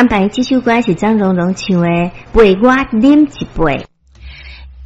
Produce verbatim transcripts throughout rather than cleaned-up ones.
安排這首歌是張榮榮唱的《陪我啉一杯》。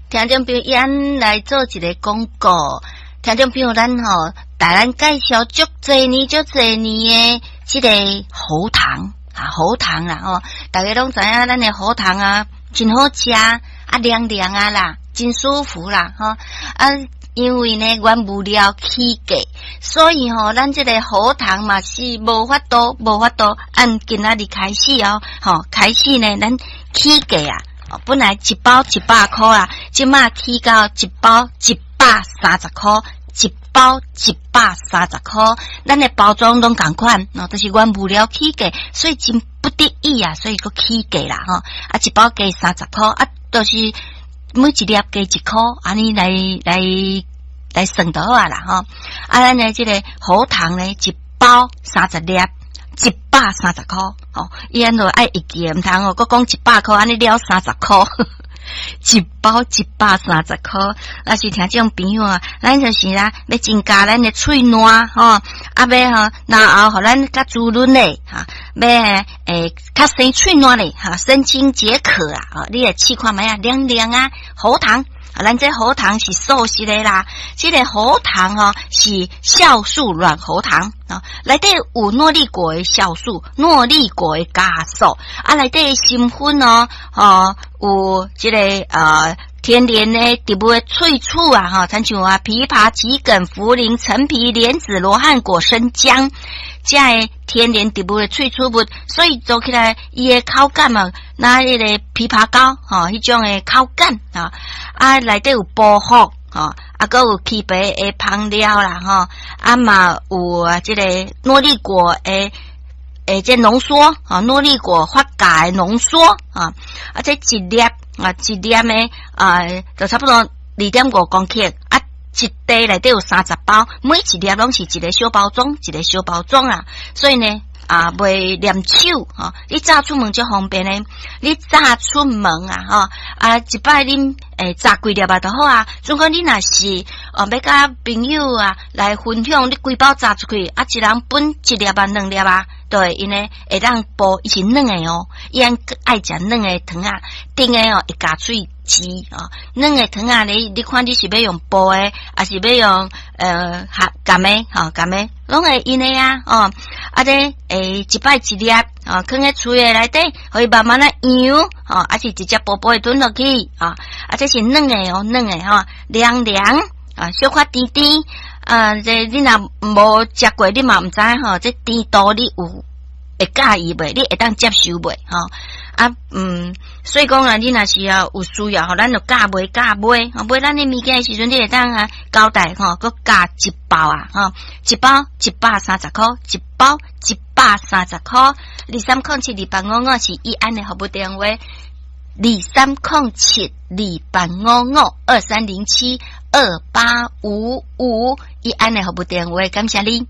聽眾朋友，咱來做一个廣告。聽眾朋友，咱吼，帶咱介紹足濟年、足濟年的這个喉糖啊，喉糖啦吼，大家攏知影咱的喉糖啊，真好食啊，涼涼啊啦，真舒服啦吼啊！因為呢，原物料起價，所以吼，咱這个喉糖嘛是無法度，無法度按今仔日開始哦，吼，開始呢，咱起價啊，本來一包一百箍啊，這馬起到一包一百三十箍，一包一百三十箍，咱的包裝攏仝款，哦，就是原物料起價，所以真不得已啊，所以閣起價啦，吼，啊，一包加三十箍，啊，就是每一粒加一箍，按呢來來來算就好啊啦，吼，啊，咱的這个喉糖呢，一包三十粒，一百三十箍，吼，伊按怎愛會記，毋通哦，閣講一百箍，按呢了三十箍。一包一百三十箍，若是聽眾朋友啊，咱就是啊，欲增加咱的喙爛吼，啊欲吼，然後予咱較滋潤咧，哈，欲會較生喙爛咧，哈，神清解渴啊，哦，你來試看覓啊，涼涼啊，喉糖，啊，咱這喉糖是素食的啦，這个喉糖吼是酵素軟喉糖啊，內底有諾麗果的酵素，諾麗果的酵素，啊，內底成分哦，吼有這个呃天然的植物的萃取啊，吼，親像啊枇杷、桔梗、茯苓、陳皮、蓮子、羅漢果、生薑，這个天然植物的萃取物，所以做起來伊的口感啊，若彼个枇杷膏吼，彼種的口感啊，啊內底有薄荷。吼，啊，閣有枇杷的芳料啦，吼，啊嘛有啊，這个諾麗果的誒，這濃縮啊，諾麗果發酵的濃縮啊，啊，這一粒啊，一粒的啊，就差不多二點五公克啊，一袋內底有三十包，每一粒攏是一个小包裝，一个小包裝啊，所以呢，啊，袂黏手吼！你早出門足方便的，你早出門啊，吼啊，一擺啉會十幾粒啊，就好啊。如果你若是哦，欲佮朋友啊來分享，你規包炸出去，啊，一人分一粒啊，兩粒啊，對，𪜶呢會當補，伊是軟的哦，伊按愛食軟的糖仔，甜的哦會咬喙舌哦，軟的糖仔你你看你是欲用薄的，抑是欲用呃含含的吼含的，攏會用的啊哦，啊這會一擺一粒哦，囥佇喙的內底，予伊慢慢仔溶吼，抑是直接薄薄的吞落去啊，啊這是軟的哦，軟的吼，涼涼啊，小可甜甜啊，這你若無食過，你嘛毋知吼，這甜度你有會佮意袂？你會當接受袂？吼啊嗯，所以講啊，你若是啊有需要吼，咱就加買加買，買咱的物件的時陣，你會當啊交代吼，閣加一包啊，吼，一包一百三十箍，一包一百三十箍，二三空七二八五五是易安的服務電話，二三空七二八五五二三零七二八五五易安的服務電話，感謝你。